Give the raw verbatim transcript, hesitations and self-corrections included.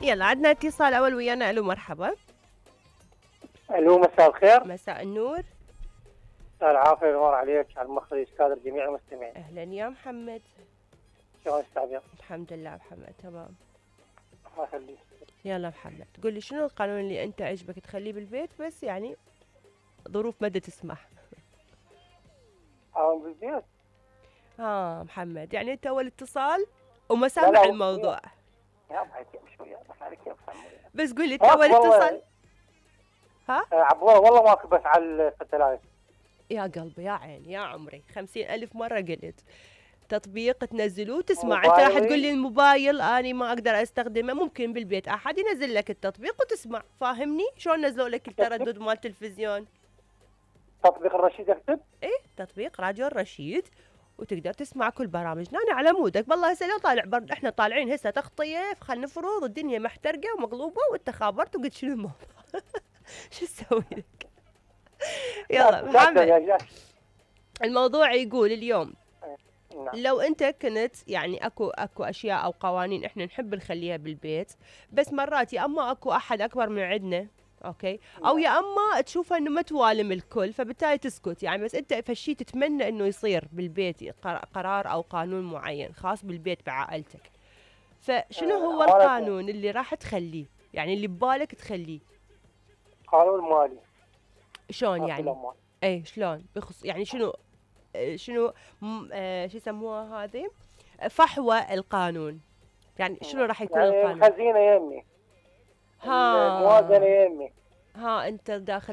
يلا عندنا اتصال اول ويانا. الو مرحبا. الو مساء الخير. مساء النور. مساء العافيه والنور عليك، على المخرج استاذ جميع المستمعين. اهلا يا محمد. شلون استاذ؟ الحمد لله محمد تمام. الله يخليك. يلا محمد قول لي شنو القانون اللي انت عجبك تخليه بالبيت بس يعني ظروف ما تسمح. اه بالبيت. اه محمد يعني انت اول اتصال وما سامع الموضوع. يا بعد شويه بس عليك يا بس قول لي انت اول اتصال. ها عبوه والله ماكو بس على الستلايت. يا قلبي يا عيني يا عمري خمسين ألف مرة قلت تطبيق تنزلوه تسمع. انت راح تقول لي الموبايل اني ما اقدر استخدمه، ممكن بالبيت احد ينزل لك التطبيق وتسمع. فاهمني شلون نزلوا لك التردد مال التلفزيون؟ تطبيق الرشيد اكتب؟ ايه تطبيق راديو الرشيد وتقدر تسمع كل برامجنا. انا على مودك بالله. هسه لو طالع برد احنا طالعين هسه تغطيه خلينا نفرض الدنيا محترقه ومقلوبه وانت خابرت وقلت شنو الموضوع. شو اسوي لك؟ يلا محمد الموضوع يقول اليوم نعم. لو انت كنت يعني اكو اكو اشياء او قوانين احنا نحب نخليها بالبيت بس مرات يا اما اكو احد اكبر من عندنا اوكي او يا اما تشوفها انه ما توالم الكل فبالتالي تسكت يعني. بس انت فشي تتمنى انه يصير بالبيت قرار او قانون معين خاص بالبيت بعائلتك، فشنو هو القانون اللي راح تخليه يعني اللي ببالك تخليه؟ قانون مالي. شلون يعني؟ اي شلون بخص يعني شنو شنو آه شو يسموها هذه فحوى القانون يعني شنو راح يكون يعني القانون؟ الخزينه يمي، ها الموازنه يمي. ها انت داخل